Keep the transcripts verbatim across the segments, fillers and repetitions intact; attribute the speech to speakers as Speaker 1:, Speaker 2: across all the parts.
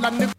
Speaker 1: hlamula ni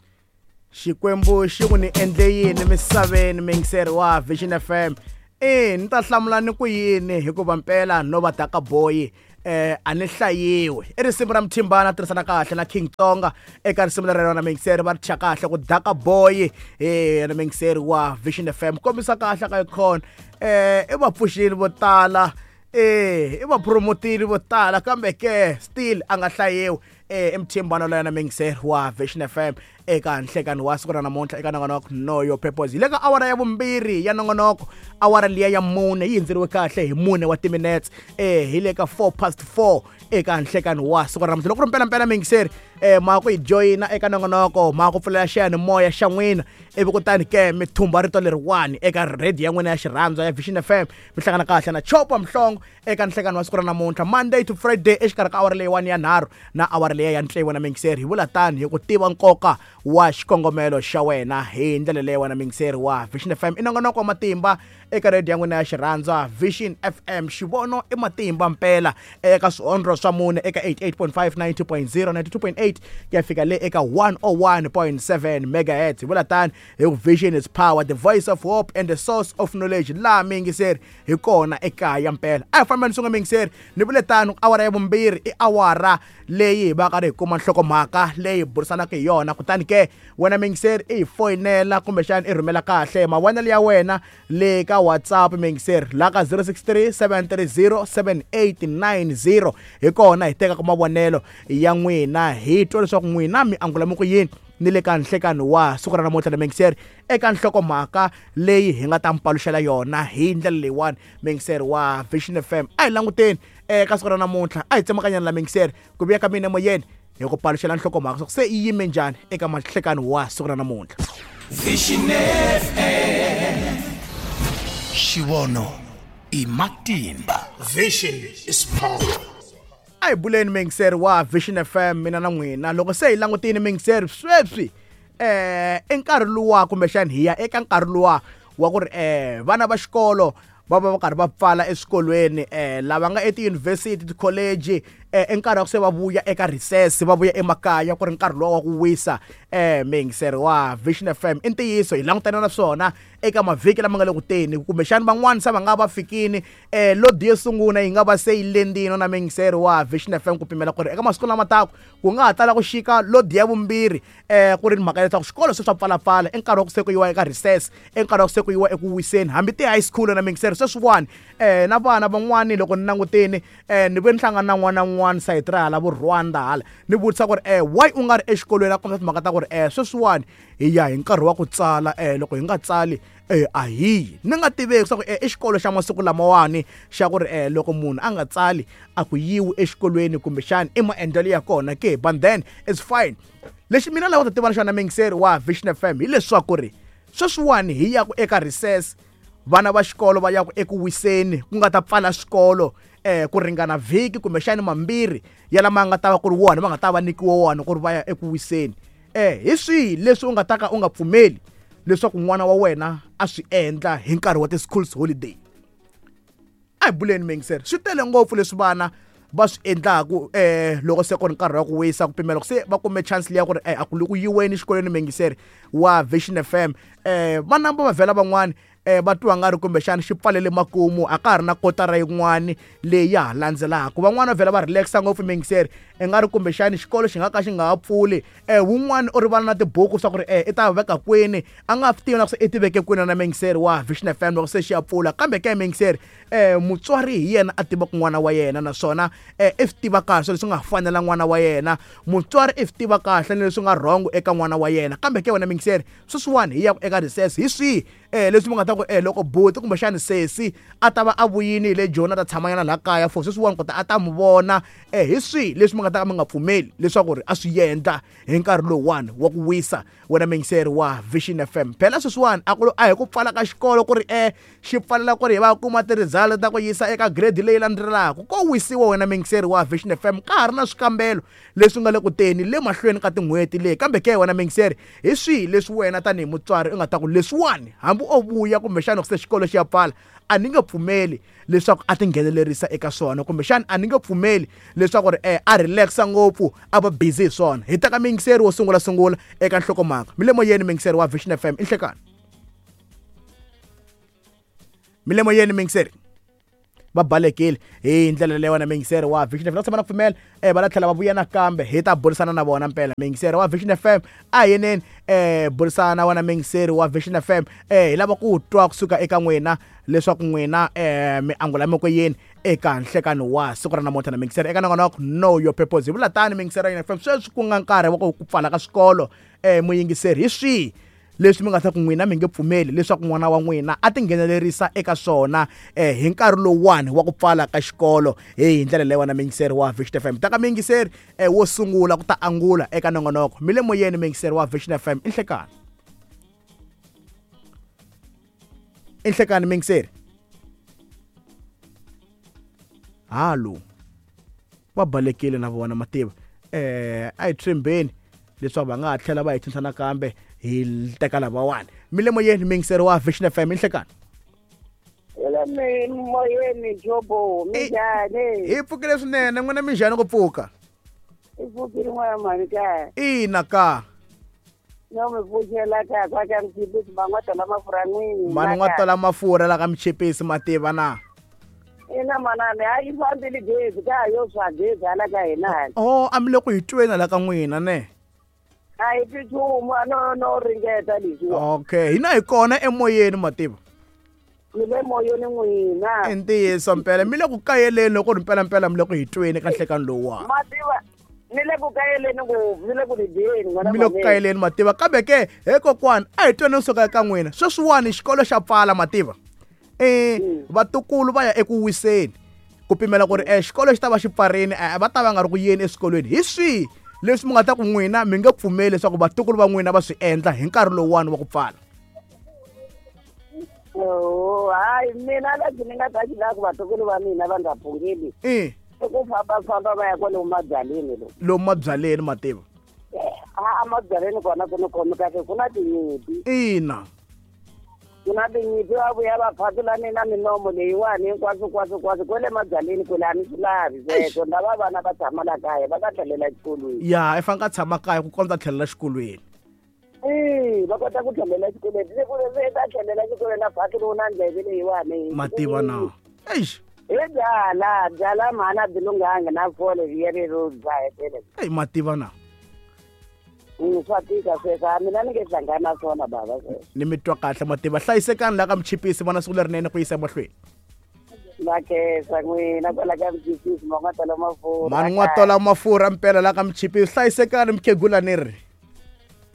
Speaker 2: Xikwembu xi ku ni endle yini misaveni muyingiseri wa Vision F M e ni ta hlamula ni ku yini hikuva mpela no va daka boy eh a ni hlayiwe i risimu ra Mthimbana tirhisana kahle na King Tonga eka risimu leri rona muyingiseri va ri thya kahle ku daka boy eh na muyingiseri wa Vision F M kombisa kahle ka icon eh i vapfuxeli vo tala eh i vapromoteri vo tala kambe ke still a nga hlayiwi eh Mthimbana loyi na muyingiseri wa Vision F M eka nhlekani wa siku ra namuntlha eka nongonoko Know Your Purpose hi le ka awara ya vumbirhi ya nongonoko awara liya ya mune yi hundzeriwe kahle hi mune wa timinetse eh hi le ka four past four eka nhlekani wa siku ra namuntlha loko ri mpelampela muyingiseri eh ma ku hi joyina eka nongonoko ma ku pfulela xiyanimoya xa n'wina ivi kutani ke mi thumba rito leriwani eka radio ya n'wina ya xirhandza ya Vision F M mi hlangana kahle na Chopa Mhlongo eka nhlekani wa siku ra namuntlha Monday to Friday exikarhi ka awara leyiwani ya nharhu na awara leyi ya tsevu na muyingiseri hi vula tani hi ku tiva nkoka wa xikongomelo xa wena hi ndlela leyi wena muyingiseri wa Vision F M i nongonoko wa matimba eka radio ya n'wina ya xirhandza Vision F M xivono i matimba mpela eka swihondlo swa mune eka eighty-eight point five, ninety point zero, ninety-two point eight ku ya fika le eka one oh one point seven megahertz hi vula tani hi ku Vision is power, the voice of hope and the source of knowledge laha muyingiseri hi kona ekaya mpela a hi fambeni swin'we muyingiseri ni vule tano awara ya vumbirhi i awara leyi hi va ka ri hi kuma nhlokomhaka leyi burisanaka hi yona kutani ke wena muyingiseri i hi foyinela kumbexana i rhumela kahle mavonelo ya wena le ka WhatsApp muyingiseri la ka zero six three, seven three zero, seven eight nine zero hi kona hi tekaka mavonelo ya n'wina hi twa leswaku n'wina mi angula mi ku yini ni le ka nhlekani wa siku ra namuntlha na muyingiseri eka nhlokomhaka leyi hi nga ta mpaluxela yona hi ndlela leyiwani muyingiseri wa Vision F M a hi languteni eka siku ra namuntlha a hi tsemakanyana la muyingiseri ku vuya ka mina emoyeni hi ku paluxela nhlokomhaka swa ku se yi yime njhani eka mahlekani wa siku ra namuntlha.
Speaker 3: Vision F M Xivono i matimba.
Speaker 1: Vision is power.
Speaker 2: A hi buleni muyingiseri wa Vision F M mina na n'wina loko se hi langutini muyingiseri sweswi eh i nkarhi luwa kumbexani hi ya eka nkarhi luwa wa ku ri eh vana va xikolo va va va karhi va pfala eswikolweni eh lava nga etiyunivhesiti tikholeji eh i nkarhi wa ku se va vuya eka recess va vuya emakaya ku ri nkarhi luwa wa ku wisa eh muyingiseri wa Vision F M i ntiyiso hi langutana na swona eka mavhiki lama nga le ku teni kumbexani van'wani se va nga va fikini eh lodi yo sungula yi nga va se yi lendini na muyingiseri wa Vision F M ku pimela ku ri eka masiku lama taka ku nga ha tala ku xika lodi ya vumbirhi eh ku ri mhaka ya leswaku xikolo se swa pfalapfala i nkarhi wa ku se ku yiwa eka recess i nkarhi wa ku se ku yiwa eku wiseni hambi ti-high school na muyingiseri sweswiwani eh na vana van'wani loko ni langutini eh ni ve ni hlangana na n'wana n'wana sayiti ra hala vo Rwanda hala ni vutisa ku ri eh why u nga ri exikolweni a kombisa timhaka ta ku ri eh sweswiwani hi ya hi nkarhi wa ku tsala eh loko hi nga tsali eh a hi ni nga tiveki swa ku eh i xikolo xa masiku lamawani xa ku ri eh loko munhu a nga tsali a ku yiwi exikolweni kumbexani i maendlelo ya kona ke but then it's fine lexi mina lava ta tiva xona muyingiseri wa Vision F M hileswaku ri sweswiwani hi ya ku eka recess vana va xikolo va ya ku eku wiseni ku nga ta pfala swikolo eh ku ringana vhiki kumbexani mambirhi ya lama nga ta va ku ri wona va nga ta va nyikiwa wona ku ri va ya eku wiseni eh hi swihi leswi u nga ta ka u nga pfumeli leswaku n'wana wa wena a swi endla hi nkarhi wa ti-schools holiday a hi buleni muyingiseri swi tele ngopfu leswi vana va swi endlaku eh loko se ku ri nkarhi wa ku wisa ku pimela ku se va kume chance liya ku ri eh a ku le ku yiweni xikolweni muyingiseri wa Vision F M eh va namba va vhela van'wani eh va twa nga ri kumbexani xi pfalele makumu a ka ha ri na kotara yin'wani leyi ya ha landzelaka van'wani va vhela va relaxa ngopfu muyingiseri i nga ri kumbexani xikolo xi nga ka xi nga ha pfuli eh wun'wani u rivala na tibuku swa ku ri eh i ta veka kwini a nga swi tivi na ku se i ti veke kwini na muyingiseri wa Vision F M loko se xi ya pfula kambe ke muyingiseri eh mutswari hi yena a tivaka n'wana wa yena naswona eh i swi tiva kahle leswi nga fanela n'wana wa yena mutswari i swi tiva kahle ni leswi nga wrong eka n'wana wa yena kambe ke wena muyingiseri sweswiwani hi ya ku eka recess hi swihi eh leswi mi nga ta ku eh loko buti kumbexani sesi a ta va a vuyini hi le Joni a ta tshamanyana laha kaya for sweswiwani kota a ta mi vona eh hi swihi leswi mi nga ta ka mi nga pfumeli leswaku ri a swi endla hi nkarhi lowuwani wa ku wisa wena muyingiseri wa Vision F M phela sweswiwani a ku a hi ku pfala ka xikolo ku ri eh xi pfalela ku ri hi va kuma ti-result ta ku yisa eka grade leyi landzelaka ko wisiwa wena muyingiseri wa Vision F M ka ha ri na swikambelo leswi nga le ku teni le mahlweni ka tin'hweti leyi kambe ke wena muyingiseri hi swihi leswi wena tanihi mutswari u nga ta ku leswiwani hambi o vuya kumbexana loko se xikolo xi ya pfala a ni nge pfumeli leswaku a tinghenelerisa eka swona, kumbexana a ni nge pfumeli leswaku ri eh, a relaxa ngopfu a va busy hi swona. Hi teka miyingiseri wo sungula sungula eka nhlokomhaka. Mi le moyeni miyingiseri wa Vision F M, i nhlekani. Mi le moyeni miyingiseri. Va balekile hi ndlela leyi wena miyingiseri wa Vision F M. Va tshama na pfumela eh va la tlhela va vuya nakambe hi ta burisana na vona mpela. Miyingiseri wa Vision F M a hi yeneni eh burisana na wena miyingiseri wa Vision F M eh hi lava ku twa kusuka eka n'wina leswaku n'wina eh mi angula mi ku yini eka nhlekano wa siku ra namuntlha na miyingiseri eka nongonoko Know Your Purpose. Hi vula tani miyingiseri ya F M sweswi ku nga nkarhi wa ku pfala ka swikolo eh muyingiseri hi swihi leswi mi nga ta ku n'wina mi nge pfumeli leswaku n'wana wa n'wina a tinghenelerisa eka swona eh hi nkarhi lowuwani wa ku pfala ka xikolo hi ndlela leyi wena miyingiseri wa Vision F M. Ta ka miyingiseri eh wo sungula ku ta angula eka nongonoko. Mi le moyeni miyingiseri wa Vision F M, i nhlekani. I nhlekani miyingiseri. Halo. Va balekile na vona mativa. Eh a hi tshembeni leswaku va nga ha tlhela va hi tshunxa nakambe hi teka lavawani. Mi le moyeni miyingiseri wa Vision F M, i nhlekani.
Speaker 4: Hello moyeni Jobo, minjhani?
Speaker 2: Hi pfukile swinene, n'wina minjhani ku pfuka?
Speaker 4: Hi pfukile n'wana mhani ka.
Speaker 2: Ina ka.
Speaker 4: No mi pfuxela ka kwa ka Mchipisi va n'wa tola mafurha n'wini.
Speaker 2: Mani n'wa tola mafurha la ka Mchipisi mativa na.
Speaker 4: Ina manani a yi fambile gezi ka yo swa gezi hala ka hina.
Speaker 2: Oh, a mi le ku hi tweni la ka n'wina ne?
Speaker 4: A hi twi nchumu, no no ringeta leswiwa.
Speaker 2: Okay, hina hi kona emoyeni mativa.
Speaker 4: Mi le moyeni n'wina.
Speaker 2: I ntiyiso mpela, mi le ku kayeleni loko ri mpela mpela mi le ku hi tweni ka nhlekani lowuwani.
Speaker 4: Mativa ni le ku kayeleni ngopfu, ni le ku ridyeni n'wana.
Speaker 2: Mi le ku kayeleni mativa, kambe ke he kokwani a hi tweni kusuka eka n'wina. Sweswiwani xikolo xa pfala mativa. Eh vatukulu va ya eku wiseni ku pimela ku ri eh xikolo xi ta va xi pfarini, va ta va nga ri ku yeni eswikolweni. Hi swihi leswi mi nga ta ku n'wina mi nge pfumeli leswaku vatukulu va n'wina va swi endla hi nkarhi lowuwani wa ku pfala?
Speaker 4: Oh, hayi mina lexi ni nga ta xi lava ku vatukulu va mina va nga phungeli
Speaker 2: i
Speaker 4: i ku fambafamba va ya kwalomu mabyaleni lo.
Speaker 2: Lomu mabyaleni mativa?
Speaker 4: A mabyaleni kona ku ni khomi kahle, ku na tinyimpi.
Speaker 2: Ina.
Speaker 4: Ku na tinyimpi va vuya va phatlulane na minomo leyiwani hinkwaswo kwaswo kwaswo kwele mabyaleni kwele a ni swi lavi sweswo. Lava vana va tshama la kaya va ta tlhelela exikolweni.
Speaker 2: Ya, i fanele a tshama kaya ku kondza tlhelela exikolweni.
Speaker 4: Eh, va kota ku tlhelela exikolweni. Se ku se ta tlhelela exikolweni a phatluriwe na ndleve leyiwani.
Speaker 2: Mativa na. Eish.
Speaker 4: Hi byala, byala mhana byi lunghanga na fole rero dzahetele.
Speaker 2: Ey mativa na.
Speaker 4: Swa tika sweswo, a mina ni nge hlangani na swona bava sweswo.
Speaker 2: Ni mi twa kahle mativa. Hlayisekani la ka Mchipisi, vona siku lerinene ku yisa emahlweni.
Speaker 4: Na khensa n'wina kwala ka Mchipisi, ma n'wa tola mafurha.
Speaker 2: Mani n'wa tola mafurha mpela la ka Mchipisi. Hlayisekani mukhegula ni ri.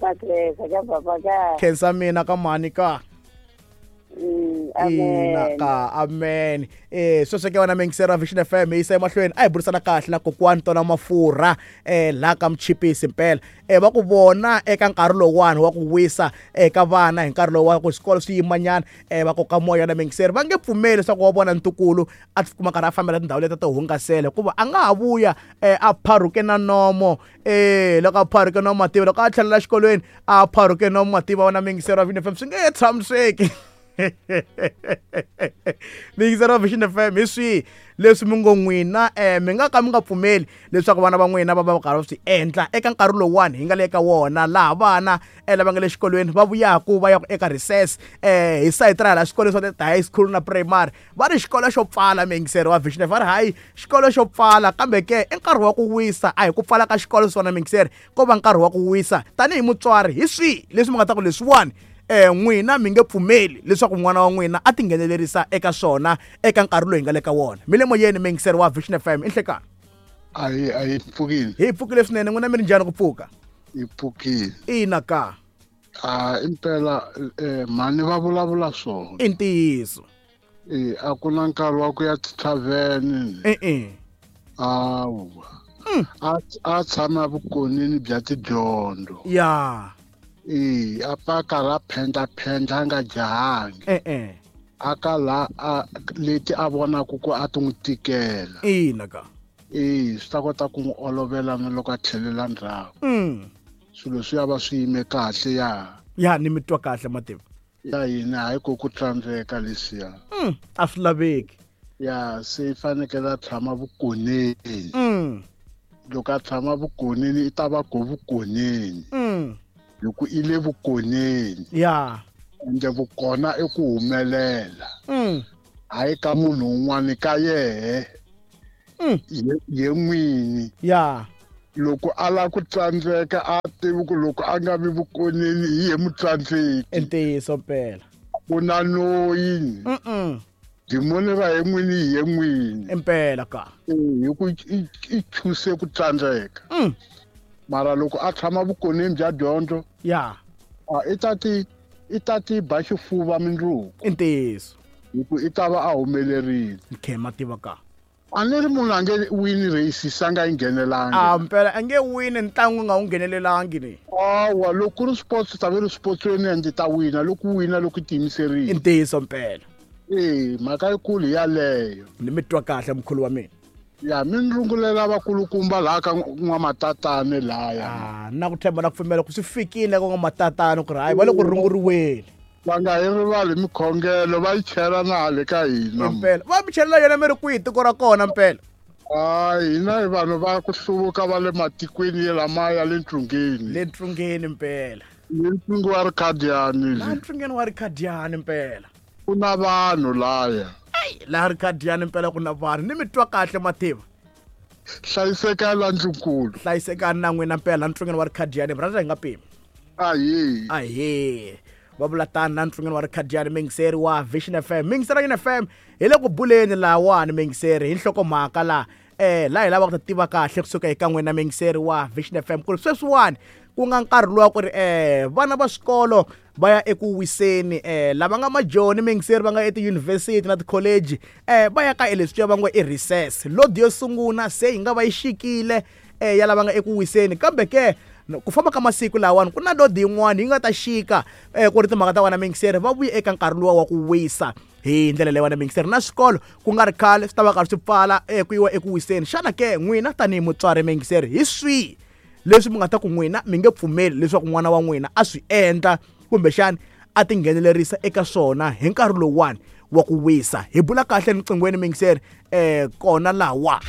Speaker 4: Na khensa ka papa ka.
Speaker 2: Khensa mina ka mhani ka.
Speaker 4: Amen.
Speaker 2: Ka amen. Eh sweswo ke wena miyingiseri wa Vision F M hi yisa emahlweni. A hi burisana kahle na kokwani tola mafurha eh la ka Mchipisi mpela. Eh va ku vona eka nkarhi lowuwani wa ku wisa eka vana hi nkarhi lowu wa ku swikolo swi yimanyana eh va koka moya na miyingiseri va nge pfumeli leswaku wa vona ntukulu a tikuma karhi a fambela tindhawu leti to hungasela hikuva a nga ha vuya eh a pharuke na nomo eh loko a pharuke nomo mativa loko a tlhelela exikolweni a pharuke nomo mativa wena miyingiseri wa Vision F M swi nge tshamiseki. Miyingiseri wa Vision F M hi swihi leswi mi ngo n'wina eh mi nga ka mi nga pfumeli leswaku vana va n'wina va va karhi va swi endla eka nkarhi lowuwani hi nga le ka wona laha vana eh lava nga le xikolweni va vuyaku va ya eka recess eh hi sayiti ra hala swikolo swa ti-high school na primary va ri xikolo xo pfala. Miyingiseri wa Vision F M va ri hayi xikolo xo pfala, kambe ke i nkarhi wa ku wisa, a hi ku pfala ka xikolo swona miyingiseri, ko va nkarhi wa ku wisa. Tanihi mutswari hi swihi leswi mi nga ta ku leswiwani eh n'wina mi nge pfumeli leswaku n'wana wa n'wina a tinghenelerisa eka swona eka nkarhi lowu hi nga le ka wona? Mi le moyeni miyingiseri wa Vision F M, i nhlekani.
Speaker 5: A hi a hi pfukile.
Speaker 2: Hi pfukile swinene, n'wina mi ri njhani ku pfuka?
Speaker 5: Hi pfukile.
Speaker 2: Ina ka.
Speaker 5: A impela eh mhani va vulavula swona.
Speaker 2: I ntiyiso.
Speaker 5: Eh a ku na nkarhi wa ku ya tithavheni.
Speaker 2: E-e.
Speaker 5: Awa. A a tshama vukonini bya tidyondzo.
Speaker 2: Ya.
Speaker 5: Eh a paka ra phendla phendla nga jahangi.
Speaker 2: E-e.
Speaker 5: A ka la a leti a vonaku ku a ti n'wi tikela.
Speaker 2: Ina ka.
Speaker 5: Eh swi ta kota ku n'wi olovela na loko a tlhelela ndzhaku.
Speaker 2: Mm.
Speaker 5: Swilo swi ya va swi yime kahle ya.
Speaker 2: Ya ni mi twa kahle mativa.
Speaker 5: Ya hina hayi ko ku tsandzeka leswiya.
Speaker 2: Mm, a swi laveki.
Speaker 5: Ya se fanekele a tshama vukoneni.
Speaker 2: Mm.
Speaker 5: Loko a tshama vukoneni i ta va ko vukoneni.
Speaker 2: Mm.
Speaker 5: Hi ku i le vukoneni.
Speaker 2: Ya.
Speaker 5: Ende vukona i ku humelela.
Speaker 2: Mm.
Speaker 5: Hayi ka munhu un'wana ka yehe.
Speaker 2: Mm.
Speaker 5: Ye n'wini.
Speaker 2: Ya.
Speaker 5: Loko a lava ku tsandzeka a tivi ku loko a nga vi vukoneni hi ye mutsandzeki.
Speaker 2: I ntiyiso mpela.
Speaker 5: Ku na noyi.
Speaker 2: Mm.
Speaker 5: Dimoni ra ye n'wini hi ye n'wini.
Speaker 2: Impela ka.
Speaker 5: Hi ku i chuse ku tsandzeka.
Speaker 2: Mm.
Speaker 5: Mara loko a tshama vukoneni bya dyondzo.
Speaker 2: Ya.
Speaker 5: A i ta ti i ta ti ba xifuva mindzuku.
Speaker 2: I ntiyiso.
Speaker 5: Hi ku i ta va a humelerile.
Speaker 2: Nkhema tiva ka.
Speaker 5: A ni ri munhu a nge wini race a nga yi nghenelangi.
Speaker 2: A mpela a nge wini ntlangu nga wu nghenelelangi ni.
Speaker 5: Awa loko ku ri sports ta ve ri sportsweni ende ta wina loko wina loko i tiyimiserile.
Speaker 2: I ntiyiso mpela.
Speaker 5: Eh mhaka yikulu yaleyo.
Speaker 2: Ni mi twa kahle mkhulu wa mina.
Speaker 5: Ya mi ni rungulela vakulukumba laha ka n'wamatatane laya.
Speaker 2: Ah na ku tshemba na ku pfumela ku swi fikile ka n'wamatatane ku ri hayi va le ku runguriweni.
Speaker 5: Va nga hi rivali mikhongelo va yi chela na hale ka hina.
Speaker 2: Mpela va mi chelela yona mi ri kwihi tiko ra kona mpela?
Speaker 5: Hayi hina hi vanhu va ku hluvuka va le matikweni lamaya le ntsungeni.
Speaker 2: Le ntsungeni mpela.
Speaker 5: Le ntsungeni wa Rikhadyani.
Speaker 2: La ntsungeni wa Rikhadyani mpela.
Speaker 5: Ku na vanhu laya.
Speaker 2: Ai la Rikhadyani mpela ku na vanhu ni mi twa kahle mativa.
Speaker 5: Hlayiseka la ndlunkulu.
Speaker 2: Hlayisekani na n'wina mpela ntsungeni wa Rikhadyani brother hi nga pimi.
Speaker 5: Ahi.
Speaker 2: Ahi. Va vula tani na ntsungeni wa Rikhadyani mingiseri wa Vision F M. Mingiseri wa F M hi le ku buleni lahawani mingiseri hi nhlokomhaka laha eh laha hi lavaka ku ta tiva kahle kusuka eka n'wina mingiseri wa Vision F M ku ri sweswiwani ku nga nkarhi luwa ku ri eh vana va swikolo va ya eku wiseni eh lava nga majoni mingiseri va nga etiyunivhesiti na tikholeji eh va ya ka leswiya va ngo i recess. Lodi yo sungula se yi nga va yi xikile eh ya lava nga eku wiseni kambe ke ku famba ka masiku lawani ku na lodi yin'wana yi nga ta xika eh ku ri timhaka ta wena mingiseri va vuye eka nkarhi luwa wa ku wisa hi ndlela leyi wena mingiseri na swikolo ku nga ri khale swi ta va karhi swi pfala eh ku yiwa eku wiseni. Xana ke n'wina tanihi mutswari mingiseri hi swihi leswi mi nga ta ku n'wina mi nge pfumeli leswaku n'wana wa n'wina a swi endla kumbexani a tinghenelerisa eka swona hi nkarhi lowuwani wa ku wisa? Hi bula kahle riqinghweni mingiseri eh kona lawa.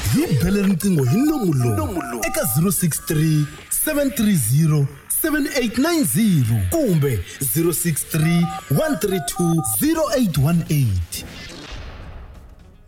Speaker 3: Hi bele riqingho hi nomu lowu eka zero six three seven three zero seven eight nine zero kumbe zero six three one three two zero eight one eight.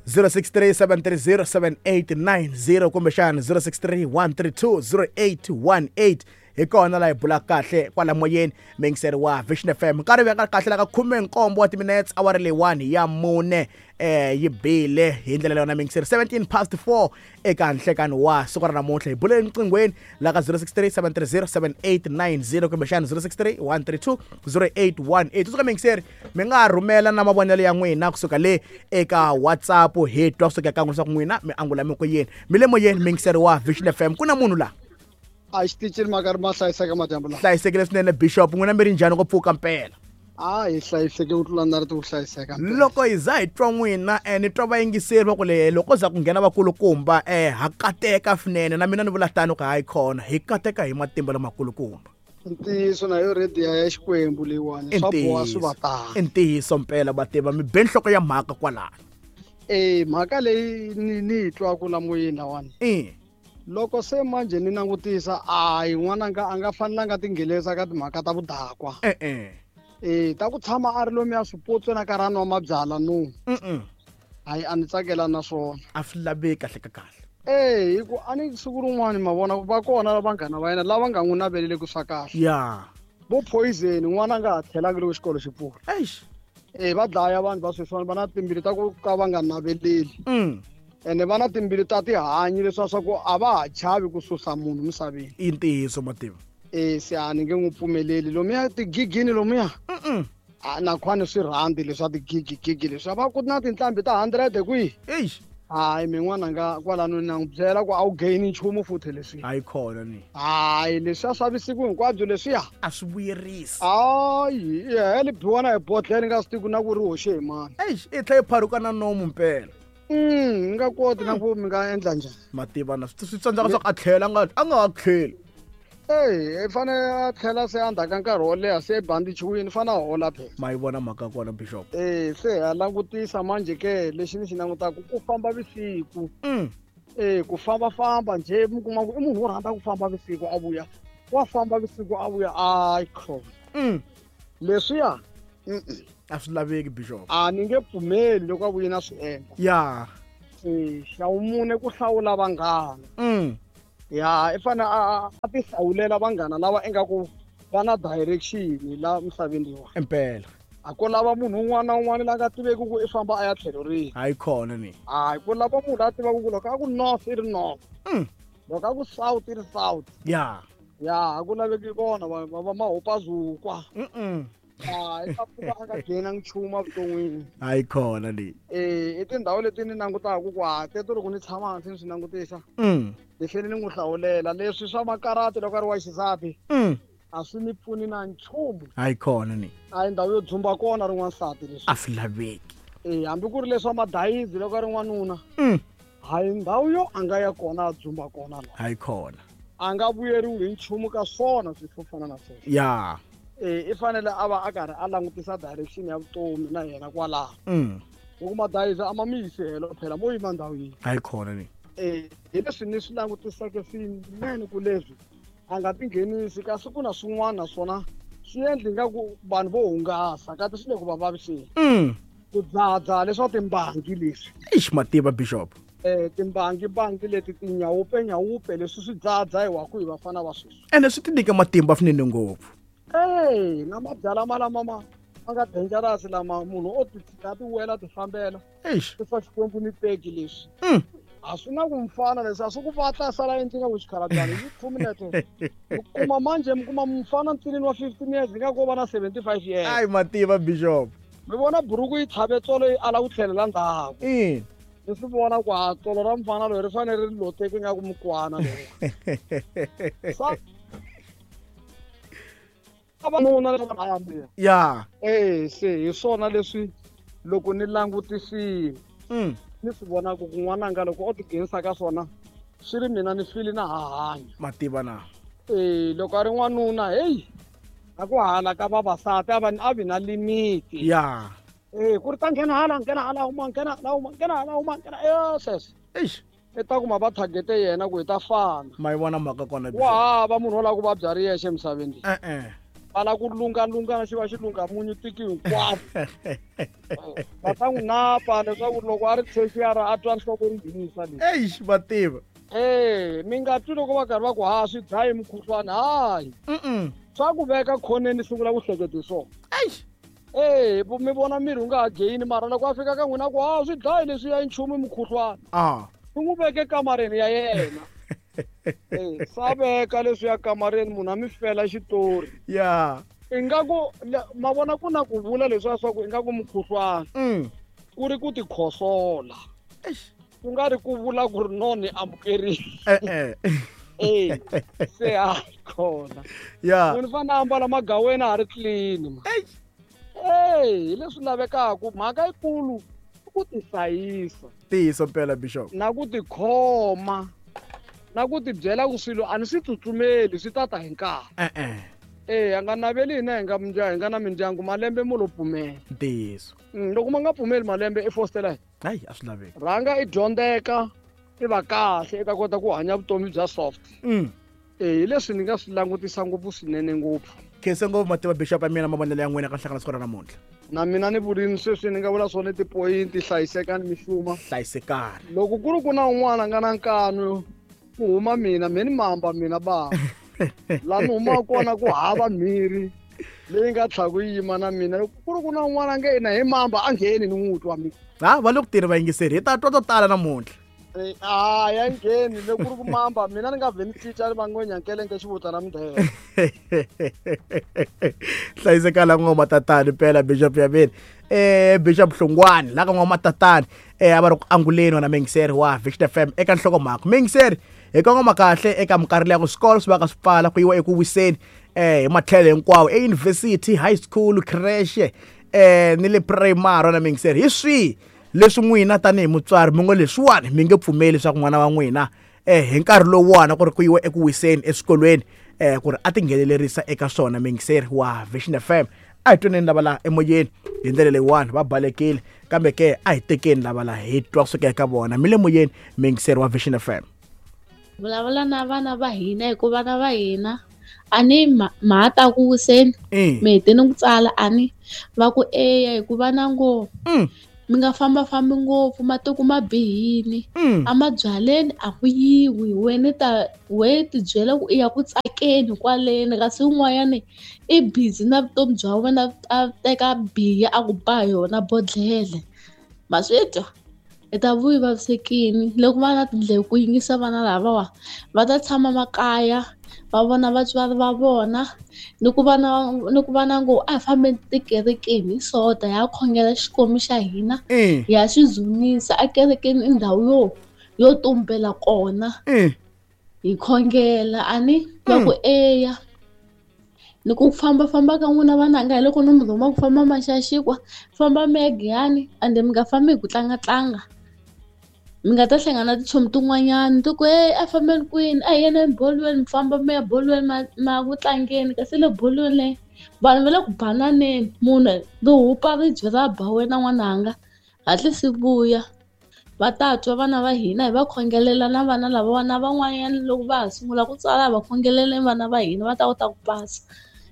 Speaker 2: zero six three seven three zero seven eight nine zero kumbexana zero six three one three two zero eight one eight hi kona laha hi bula kahle kwala moyeni mingiseri wa Vision F M. Nkarhi veka kahle la ka khume nkombo wa timinutes awara leyiwani ya mune eh yi bile hi ndlela leyi yona mingiseri seventeen past four eka nhlekani wa siku ra namuntlha. Hi buleni nqinghweni la ka zero six three seven three zero seven eight nine zero kumbexana zero six three one three two zero eight one eight. Kusuka mingiseri mi nga rhumela na mavonelo ya n'wina kusuka le eka WhatsApp hi twa kusuka ka n'wina leswaku n'wina mi angula mi ku yini. Mi le moyeni mingiseri wa Vision F M ku na munhu laha
Speaker 6: a xitichini ma karhi ma hlayiseka madyambu lawa.
Speaker 2: Hlayisekile swinene Bishop n'wina mi ri njhani ku pfuka mpela?
Speaker 6: A hi hlayiseke ku tlula na ri ti ku hlayiseka.
Speaker 2: Loko hi za hi twa n'wina eh ni twa vayingiseri va ku le loko za ku nghena vakulukumba eh ha kateka swinene na mina ni vula tano ku hayi khona hi kateka hi matimba lamakulukumba.
Speaker 6: Ntiyiso na yo radio ya Xikwembu leyiwani swa boha swi va tano.
Speaker 2: I ntiyiso mpela mativa mi be nhloko ya mhaka kwalano.
Speaker 6: Eh mhaka leyi ni ni yi twaka la moyeni lawani.
Speaker 2: Eh
Speaker 6: loko se manje ni langutisa a hi n'wananga a nga fanelanga tinghenelisa ka timhaka ta vudakwa.
Speaker 2: Eh eh
Speaker 6: eh ta ku tshama a ri lomu ya swipotso na karhi a nwa mabyalwa no.
Speaker 2: Mm.
Speaker 6: Hayi a ni tsakela na swona.
Speaker 2: A swi laveki kahle ka kahle.
Speaker 6: Eh hi ku a ni siku rin'wani ma vona va kona vanghana va yena lava nga n'wi naveleli swa kahle.
Speaker 2: Ya.
Speaker 6: Vo poison n'wana nga ha tlhelangi loko xikolo xi pfula.
Speaker 2: Eish.
Speaker 6: Eh va dlaya vanhu va sweswiwani va na timbili ta ku ka va nga naveleli.
Speaker 2: Mm.
Speaker 6: Ene va na timbili ta tihanyi leswiya swa ku a va ha chavi ku susa munhu misaveni.
Speaker 2: I ntiyiso mativa.
Speaker 6: Eh se a ni nge n'wi pfumeleli lomuya tigigini lomuya.
Speaker 2: Mm.
Speaker 6: A na khwani swi rhandi leswa tigigi gigi leswi va ku na tinhlambi ta hundred kwihi.
Speaker 2: Eish.
Speaker 6: Hayi min'wana nga kwalano na n'wi byela ku a wu gain nchumu futhi leswi.
Speaker 2: Hayi khona ni.
Speaker 6: Hayi leswiya swa vusiku hinkwabyo leswiya.
Speaker 2: A swi vuyerisi.
Speaker 6: Hayi heli biwana hi bodlhela nga swi tivi na ku ri hoxe hi mani.
Speaker 2: Eish i tlhela yi pharuka na nomu mpela.
Speaker 6: Mm, nga koti na ku mi nga endla njhani.
Speaker 2: Mativa na swi tsandzaka swa ku a tlhela a nga a nga ha tlheli.
Speaker 6: Ey, i fanele a tlhela se endzhaku ka nkarhi wo leha se bandichiwini i fanele a hola phela.
Speaker 2: Ma yi vona mhaka kona bishop.
Speaker 6: Eh, se ha langutisa manje ke lexi ni xi langutaka ku famba vusiku.
Speaker 2: Mm.
Speaker 6: Eh, ku famba-famba njhe mi kuma ku i munhu wo rhandza ku famba vusiku a vuya. Wa famba vusiku a vuya a khona.
Speaker 2: Mm.
Speaker 6: Leswiya mm-mm.
Speaker 2: A swi laveki bishop.
Speaker 6: A ni nge pfumeli loko a vuye na swi endla.
Speaker 2: Ya.
Speaker 6: Eh, xa vumune ku hlawula vanghana.
Speaker 2: Mm.
Speaker 6: Ya, i fanele a a ti hlawulela vanghana lava ingaku va na direction la misaveni leyiwani.
Speaker 2: Impela.
Speaker 6: A ko lava munhu un'wana na un'wana la nga tiveki ku i famba a ya tlhelo rihi.
Speaker 2: Hayi khona ni.
Speaker 6: Hayi ku lava munhu la tivaka ku loko a ku north i ri north.
Speaker 2: Mm.
Speaker 6: Loko a ku south i ri south.
Speaker 2: Ya.
Speaker 6: Ya, a ku laveki vona va va va mahopazukwa.
Speaker 2: Mm.
Speaker 6: Hayi ta pfuka a nga ghenangi nchumu evuton'wini.
Speaker 2: Hayi khona ni.
Speaker 6: Eh, i tindhawu leti ni langutaka ku ha teto loko ni tshama hansi ni swi langutisa.
Speaker 2: Mm.
Speaker 6: Ni fanele ni n'wi hlawulela leswi swa makarati loko a ri wa xisati.
Speaker 2: Mm.
Speaker 6: A swi ni pfuni na nchumu.
Speaker 2: Hayi khona ni.
Speaker 6: A hi ndhawu yo dzumba kona ri n'wansati leswi.
Speaker 2: A swi laveki.
Speaker 6: Eh, hambi ku ri leswa madayizi loko a ri n'wanuna.
Speaker 2: Mm.
Speaker 6: Hayi ndhawu yo a nga ya kona a dzumba kona la.
Speaker 2: Hayi khona.
Speaker 6: A nga vuyeriwi hi nchumu ka swona swilo swo fana na sweswo.
Speaker 2: Ya.
Speaker 6: Eh, i fanele a va a karhi a langutisa direction ya vutomi na yena kwalaho.
Speaker 2: Mm.
Speaker 6: Loko madayizi a ma mi yisi helo phela mo yima ndhawu yin'we.
Speaker 2: Hayi khona ni.
Speaker 6: Eh, hi leswi ni swi langutiseke swinene ku leswi a nga tinghenisi kasi ku na swin'wana naswona swi endli ingaku vanhu vo hungasa kasi swi le ku va vaviseni.
Speaker 2: Mm.
Speaker 6: Ku dzahadzaha leswa timbangi leswi.
Speaker 2: Eish mativa bishop.
Speaker 6: Eh, timbangi bangi leti tinyawupe nyawupe leswi swi dzahadzahiwaku hi vafana va sweswi.
Speaker 2: Ene swi ti nyika matimba swinene ngopfu.
Speaker 6: Ey, na mabyalwa ma lama ma ma nga dangerous lama munhu o ti tshika ti wela ti fambela.
Speaker 2: Eish.
Speaker 6: Swi Xikwembu ni teki leswi.
Speaker 2: Mm.
Speaker 6: A swi na ku mfana leswi a swi ku vatla sala endlini ku xikhalabyana hi two minutes. Mi kuma manje mi kuma mfana ntsinini wa fifteen years nga ko va na seventy-five years.
Speaker 2: Ai mativa bishop.
Speaker 6: Mi vona buruku yi tlhave tsolo yi ala ku tlhelela ndzhaku.
Speaker 2: Mm.
Speaker 6: Ni swi vona ku ha tsolo ra mfana loyi ri fanele ri loteke nga ku mukwana loyi. Sa vavanuna lava va ya.
Speaker 2: Ya.
Speaker 6: Eh, se hi swona leswi loko ni langutisile.
Speaker 2: Mm.
Speaker 6: Ni swi vona ku n'wananga loko o tinghenisa ka swona swi ri mina ni fili na ha hanya.
Speaker 2: Mativa na.
Speaker 6: Eh, loko a ri n'wanuna hey a ku hala ka vavasati a va a vi na limit.
Speaker 2: Ya.
Speaker 6: Eh, ku ri ta nghena hala nghena hala huma nghena hala huma nghena hala huma nghena eh sweswo.
Speaker 2: Eish.
Speaker 6: I ta kuma va targete yena ku hi ta fana.
Speaker 2: Ma yi vona mhaka kona.
Speaker 6: Wa hava munhu wo lava ku vabya ri yexe emisaveni leyi.
Speaker 2: Eh eh.
Speaker 6: Va lava ku lungalunga na xi va xi lunga munyu tiki hinkwaro. Va ta n'wi napa leswaku loko a ri tertiary a twa nhloko ri nghenisa leyi.
Speaker 2: Eish mativa.
Speaker 6: Eh, mi nga twi loko va karhi va ku ha swi dlayi mukhuhlwani hayi.
Speaker 2: Mm.
Speaker 6: Swa ku veka khoneni sungula ku hleketa hi swona.
Speaker 2: Eish.
Speaker 6: Eh, mi vona miri wu nga ha gain mara loko a fika ka n'wina ku ha swi dlayi leswi ya nchumu mukhuhlwani.
Speaker 2: Ah.
Speaker 6: Swi n'wi veke kamareni ya yena. Eh, swa veka leswi ya kamareni munhu a mi fela xitori.
Speaker 2: Ya.
Speaker 6: Ingaku ma vona ku na ku vula leswiya swa ku ingaku mukhuhlwani.
Speaker 2: Mm.
Speaker 6: Ku ri ku tikhosola.
Speaker 2: Eish.
Speaker 6: Ku nga ri ku vula ku ri no ni amukerile.
Speaker 2: Eh eh.
Speaker 6: Eh, se a khona.
Speaker 2: Ya.
Speaker 6: Munhu fanele a ambala magaweni a ha ri clean ma.
Speaker 2: Eish.
Speaker 6: Eh, hi leswi lavekaka mhaka yikulu i ku tihlayisa.
Speaker 2: Ntiyiso mpela bishop.
Speaker 6: Na ku tikhoma. Na ku tibyela ku swilo a ni swi tsutsumeli swi ta ta hi nkarhi.
Speaker 2: Eh eh.
Speaker 6: Eh, a nga naveli hina hi nga mindyangu hi nga na mindyangu malembe mo lo pfumela.
Speaker 2: Ntiyiso.
Speaker 6: Loko ma nga pfumeli malembe i fostela.
Speaker 2: Hayi a swi laveki.
Speaker 6: Rhanga i dyondzeka i va kahle i ta kota ku hanya vutomi bya soft.
Speaker 2: Mm.
Speaker 6: Eh, hi leswi ni nga swi langutisa ngopfu swinene ngopfu.
Speaker 2: Khensa ngopfu mativa bishop ya mina mavonelo ya n'wina ka nhlangano siku ra namuntlha.
Speaker 6: Na mina ni vurini sweswi ni nga vula swona tipoyinti hlayisekani mixuma.
Speaker 2: Hlayisekani.
Speaker 6: Loko ku ri ku na un'wana a nga na nkanu ku huma mina me ni mamba mina ba. La ni humaka kona ku hava mhiri leyi nga tlhaku yi yima na mina. Loko ku ri ku na un'wana a nge yena hi mamba a ngheni ni n'wi twa mina.
Speaker 2: Ha va le ku tirhi vayingiseri hi ta twa to tala namuntlha.
Speaker 6: Eh, a ya ngheni loko ku ri ku mamba mina ni nga vhe ni cinca ni va ngwenyankelenge xivutana mindhele.
Speaker 2: Hlayisekala ngoma tatani mpela bishop ya mina. Eh Bishop Hlongwane la ka ngoma tatani eh a va ri ku anguleni wena mingiseri wa Vision F M eka nhlokomhaka. Mingiseri hi kongoma kahle eka minkarhi leya ku swikolo swi va ka swi pfala ku yiwa eku wiseni eh hi matlhelo hinkwawo eyunivhesiti, high school, creche eh ni le primary na mingiseri. Hi swihi leswi n'wina tanihi mutswari mi ngo leswiwani mi nge pfumeli leswaku n'wana wa n'wina eh hi nkarhi lowuwani ku ri ku yiwa eku wiseni eswikolweni eh ku ri a tinghenelerisa eka swona mingiseri wa Vision F M. A hi twaneni lava la emoyeni hi ndlela leyiwani va balekile, kambe ke a hi tekeni lava la hi twa kusuka eka vona. Mi le moyeni mingiseri wa Vision F M.
Speaker 7: Vulavula na vana va hina hikuva vana va hina a ni ma ta ku wiseni mi heteni ku tsala a ni va ku eya hikuva na ngo mi nga fambafambi ngopfu matiko ma bihini a mabyaleni a ku yiwi wena ta we tibyela ku i ya ku tsakeni kwaleni kasi un'wanyani i busy na vutomi bya wena a teka biya a ku ba yona bodlele ma swi twa i ta vuyi vavisekini loko va na tindleve ku yingisa vana lavawa va ta tshama makaya va vona vatswari va vona ni ku va na ni ku va na ngo a hi fambeni tikerekeni hi sota ya khongela Xikwembu xa hina ya xi dzunisa a kerekeni i ndhawu yo yo tumbela kona hi khongela a ni va ku eya ni ku fambafamba ka n'wina vananga hi loko ni mi rhuma ku famba maxaxikwa famba mi ya Giyani ende mi nga fambi hi ku tlangatlanga mi nga ta hlangana na tichomi tin'wanyani ti ku hey a fambeni kwini a hi yeneni bolweni mi famba mi ya bolweni ma ma ku tlangeni kasi le bolweni leyi vanhu va le ku bananeni munhu ri hupa ribye ra ba wena n'wananga hatlisi vuya va ta twa vana va hina hi va khongelela na vana lava na van'wanyana loko va ha sungula ku tsala va khongeleleni vana va hina va ta kota ku pasa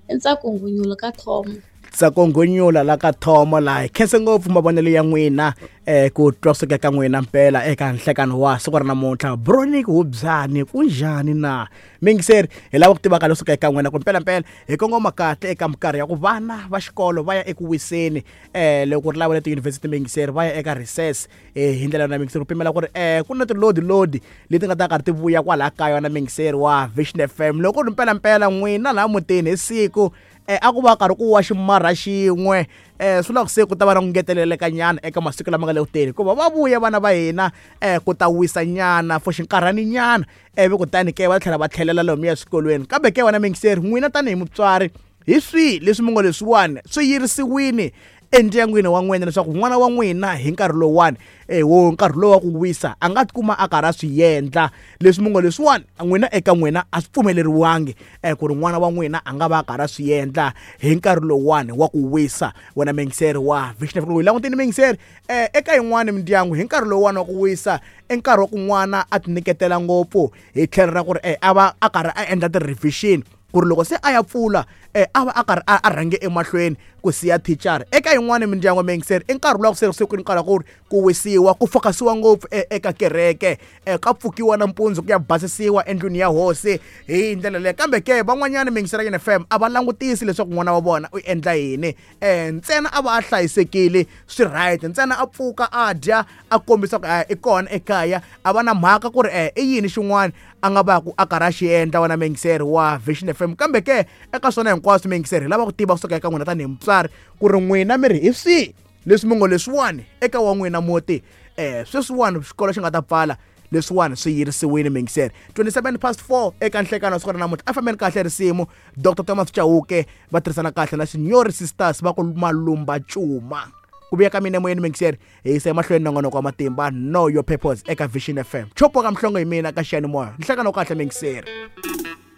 Speaker 7: i ntsako ngunyula ka Thomo.
Speaker 2: Ntsako ngunyula la ka Thomo la hi khense ngopfu mavonelo ya n'wina eh ku twa kusuka ka n'wina mpela eka nhlekano wa siku ra namuntlha. Bronic Hubyani kunjhani na mingiseri hi lava ku tiva ka leswi eka n'wina ku mpela mpela hi kongoma kahle eka minkarhi ya ku vana va xikolo va ya eku wiseni eh loko ri lava le tiyunivhesiti mingiseri va ya eka recess eh hi ndlela na mingiseri ku pimela ku ri eh ku na tilodi lodi leti nga ta karhi ti vuya kwalaha kaya na mingiseri wa Vision F M. Loko ri mpela mpela n'wina laha mutini hi siku eh a ku va karhi ku wa ximarha xin'we eh swi la ku se ku ta va na ku ngeteleleka nyana eka masiku lama nga le kuteni hikuva va vuya vana va hina eh ku ta wisa nyana for xinkarhani nyana ivi kutani ke va tlhela va tlhelela lomuya eswikolweni. Kambe ke wena mingiseri n'wina tanihi mutswari hi swihi leswi mi ngo leswiwani swi yirisiwini endyangwini wa n'wina leswaku n'wana wa n'wina hi nkarhi lowuwani eh wo nkarhi lowu wa ku wisa a nga tikuma a karhi a swi endla leswi mi ngo leswiwani n'wina eka n'wina a swi pfumeleriwangi eh ku ri n'wana wa n'wina a nga va a karhi a swi endla hi nkarhi lowuwani wa ku wisa. Wena mingiseri wa Vision F M langutini mingiseri eh eka yin'wani mindyangu hi nkarhi lowuwani wa ku wisa i nkarhi wa ku n'wana a tinyiketela ngopfu hi tlhelo ra ku ri eh a va a karhi a endla ti-revision ku ri loko se a ya pfula eh a va a karhi a rhange emahlweni ku siya thichara. Eka yin'wani mindyangu mingiseri i nkarhi luwa ku se se ku ri nkarhi wa ku ri ku wisiwa ku fokasiwa ngopfu eka kereke eh ka pfukiwa nampundzu ku ya basisiwa endlwini ya hosi hi ndlela leyo. Kambe ke van'wanyana mingiseri ya N F M a va langutisi leswaku n'wana wa vona u endla yini eh ntsena a va a hlayisekile swi right ntsena a pfuka a dya a kombisa ku i kona ekaya a va na mhaka ku ri eh i yini xin'wana a nga va ku a karhi a xi endla wena mingiseri wa Vision F M. Kambe ke eka swona hinkwaswo mingiseri hi lava ku tiva kusuka eka n'wina tanihi mutswari ku ri n'wina mi ri hi swihi leswi mi ngo leswiwani eka wa n'wina muti eh sweswiwani xikolo xi nga ta pfala leswiwani swi yirisiwile mingiseri. twenty-seven past four eka nhlekano wa siku ra namuntlha a fambeni kahle risimu Doctor Thomas Chauke va tirhisana kahle na Signori Sisters va ku Malumba Cuma ku vuya ka mina emoyeni mingiseri hi yisa emahlweni nongonoko wa matimba Know Your Purpose eka Vision F M. Chopo ka mhlongo hi mina ka xiyanimoya nhlekano kahle mingiseri.